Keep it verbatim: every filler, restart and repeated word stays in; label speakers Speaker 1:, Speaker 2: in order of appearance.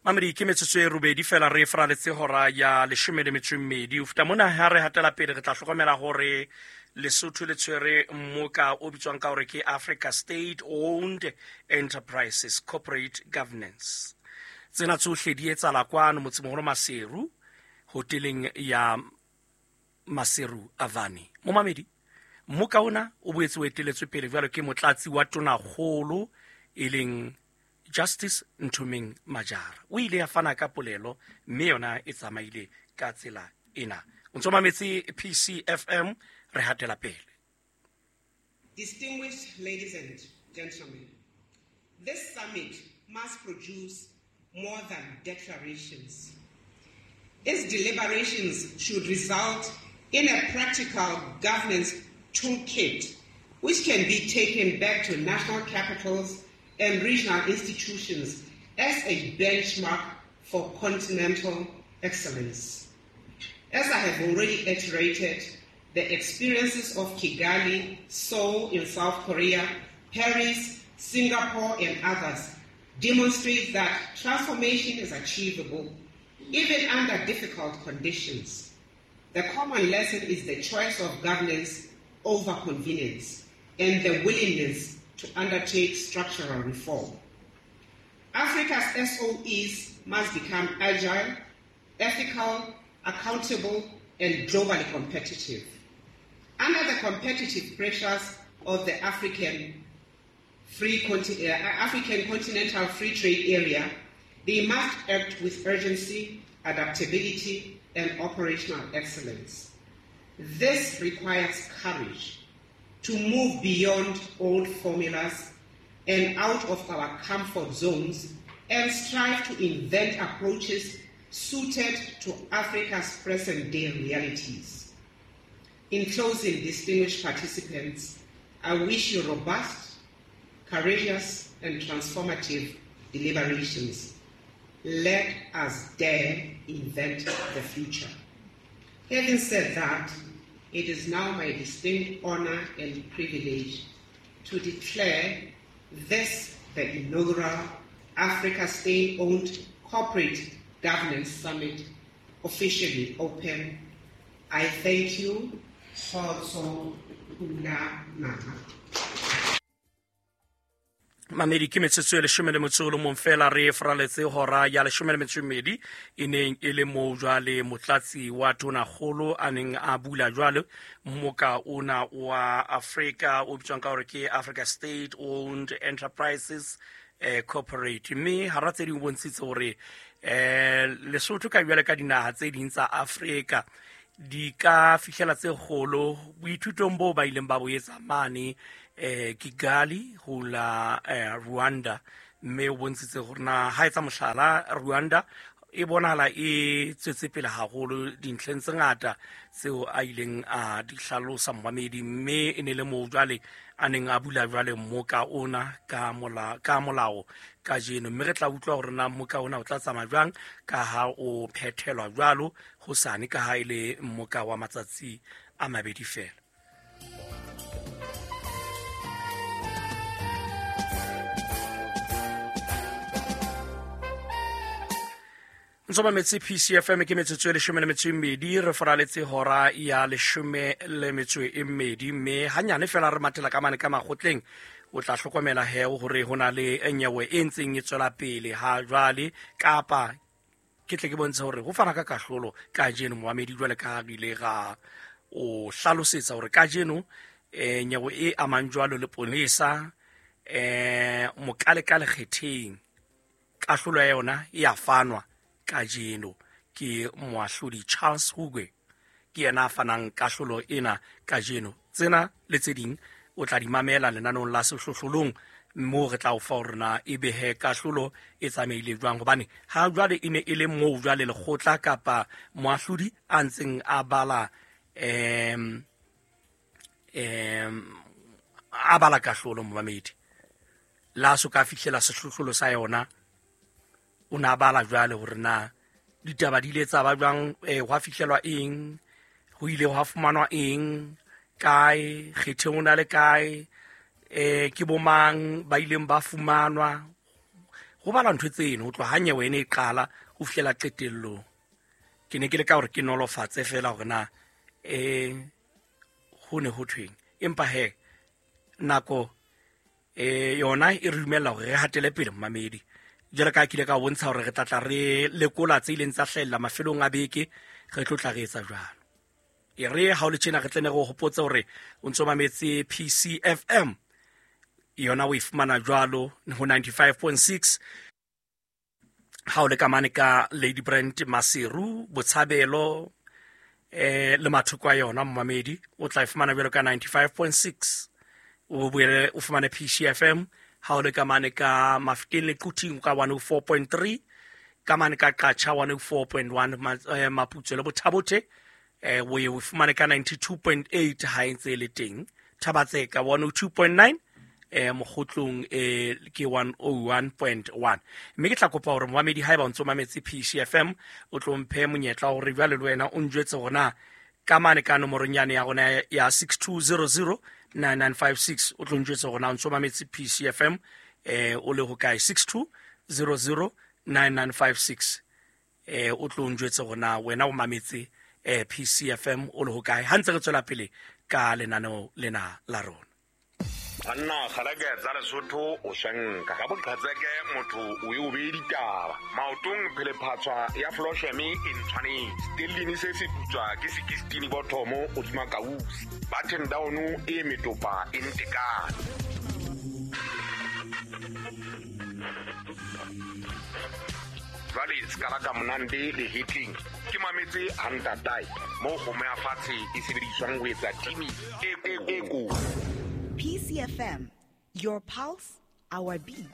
Speaker 1: Mamedi ke metsotso e robedi fela re fraletse hora ya leshome le metso e mmedi. Ho feta mona ha re hatela pele re tla hlokomela hore Lesotho le tshwere mmoka o bitswang ka hore ke Africa State Owned Enterprises Corporate Governance. Tsena tsohle di etsahala kwano motsemoholo Maseru, hoteleng ya Maseru Avani. Momamedi, mmoka ona o boetse o eteletswe pele jwalo ke motlatsi wa tonakgolo e leng Justice Nthomeng Majara. O ile a fana ka polelo mme yona e tsamaile ka tsela ena. O ntso mametse P C F M, re hatela pele.
Speaker 2: Distinguished ladies and gentlemen, this summit must produce more than declarations. Its deliberations should result in a practical governance toolkit which can be taken back to national capitals and regional institutions as a benchmark for continental excellence. As I have already iterated, the experiences of Kigali, Seoul in South Korea, Paris, Singapore, and others demonstrate that transformation is achievable even under difficult conditions. The common lesson is the choice of governance over convenience and the willingness to undertake structural reform. Africa's S O Es must become agile, ethical, accountable, and globally competitive. Under the competitive pressures of the African, Free Conti- uh, African Continental Free Trade Area, they must act with urgency, adaptability, and operational excellence. This requires courage to move beyond old formulas and out of our comfort zones and strive to invent approaches suited to Africa's present-day realities. In closing, distinguished participants, I wish you robust, courageous, and transformative deliberations. Let us dare invent the future. Having said that, it is now my distinct honor and privilege to declare this the inaugural Africa State-Owned Corporate Governance Summit officially open. I thank you. Kgotso Pula Naha.
Speaker 1: Mamedi ke metsotso e leshome le motso o le mong fela re fraletse hora ya leshome le metso e mmedi e neng e le moo jwale motlatsi wa tonakgolo a neng a bula jwale mmoka ona wa Afrika o bitswang ka hore ke Africa State Owned Enterprises eh, Corporate. Mme hara tse ding o bontshitse hore eh, Lesotho ka jwale ka dinaha tse ding tsa Afrika di ka fihlela tse kgolo boithutong boo ba ileng ba bo etsa mane eh Kigali ho la eh, Rwanda. Mme o bontshitse hore na ha etsa mohlala Rwanda e bonahala e tswetse pele haholo dintlheng tse ngata tseo a ileng a di hlalosa momamedi. Mme e ne le moo jwale a neng a bula jwale mmoka ona ka mola, ka molao kajeno. Mme re tla utlwa hore na mmoka ona o tla tsamaya jwang ka ha o phethelwa jwalo hosane ka ha e le mmoka wa matsatsi a mabedi fela. Ntso mametse P C F M ke metsotso e leshome le metso e mmedi re foraletse hora ya leshome le metso e mmedi mme hanyane fela re mathela ka mane ka makgotleng. O tla hlokomela he hore ho na le nyewe e ntseng e tswela pele ha jwale kapa ke tle ke bontshe hore ho fana ka kahlolo kajeno momamedi jwale ka re ile ra o hlalosetsa hore kajeno eh nyewe e amang jwalo le polesa eh mokalekale kgetheng kahlolo ya yona e a fanwa kajeno ke moahlodi Charles Hugwe ke yena a fanang kahlolo ena kajeno. Tsena le tse ding o tla di mamela lenaneong la sehlohlolong moo re tla o fa hore na e behe kahlolo e tsamaile jwang, hobane ha jwale e ne e le moo jwale lekgotla kapa moahlodi a ntseng a bala em em a bala kahlolo momamedi la so ka fihlela sehlohlolo sa yona. O na bala jwale hore na ditaba di ile tsa ba jwang, eh hwa fihlelwa eng, ho ile hwa fumanwa eng, kae, kgetheng o na le kae, eh ke bomang ba ileng ba fumanwa, Ho bala ntho tseno ho tloha ha nyewe ene e qala ho fihlela qetellong. Ke ne ke le ka hore ke nolofatse fela hore na eh ho ne ho thweng, empa he nako eh yona e re dumella hore re hatele pele mmamedi. Jwale ka kile ka bontsha hore re tla tla re lekola tse ileng tsa hlahella mafelong a beke, re tlo tla re etsa jwalo. E re ha o le tjena re tle ne re o hopotse hore o ntso mametse P C F M, yona o e fumana jwalo ho ninety-five point six. Ha o le ka mane ka Lady Brand Maseru, Botshabelo eh le mathoko a yona mmamedi, o tla e fumana jwalo ka ninety-five point six. O boele o fumane P C F M ha o le ka mane ka Mafikeng le Quthing ka one oh four point three, ka mane ka Qacha one oh four point one, Maputsoe le Bothabothe eh o e fumane ka ninety-two point eight ha e ntse e le teng. Thabatse ka one oh two point nine, eh Mokgotlong eh ke one oh one point one. Mme ke tla kopa hore momamedi haeba o ntso mametse P C F M o tlo mphe monyetla hore jwale le wena o njwetse hore na ka mane ka nomorong yane ya rona ya six two zero zero nine nine five six o tlo njwetse hore na o ntso mametse P C F M eh o le ho kae, six two zero zero nine nine five six eh o tlo njwetse hore na wena o mametse eh P C F M o le ho kae. Ha ntse re tswela pele ka lenaneo lena la rona.
Speaker 3: Banna kgalake tsa Lesotho o shanka ka boqhetseke motho o e o be ditaba maotong phelephatswa ya Flosheme e ntshwanetse stellini se se putswa ke sixteen bothomo o dima kausi button down e metopa e ntekane. Jwale skala ka monande le hitling ke mametse hantatai mo kgomo ya fatshe e sebediswang ho etsa timi e e ko.
Speaker 4: P C F M, your pulse, our beat.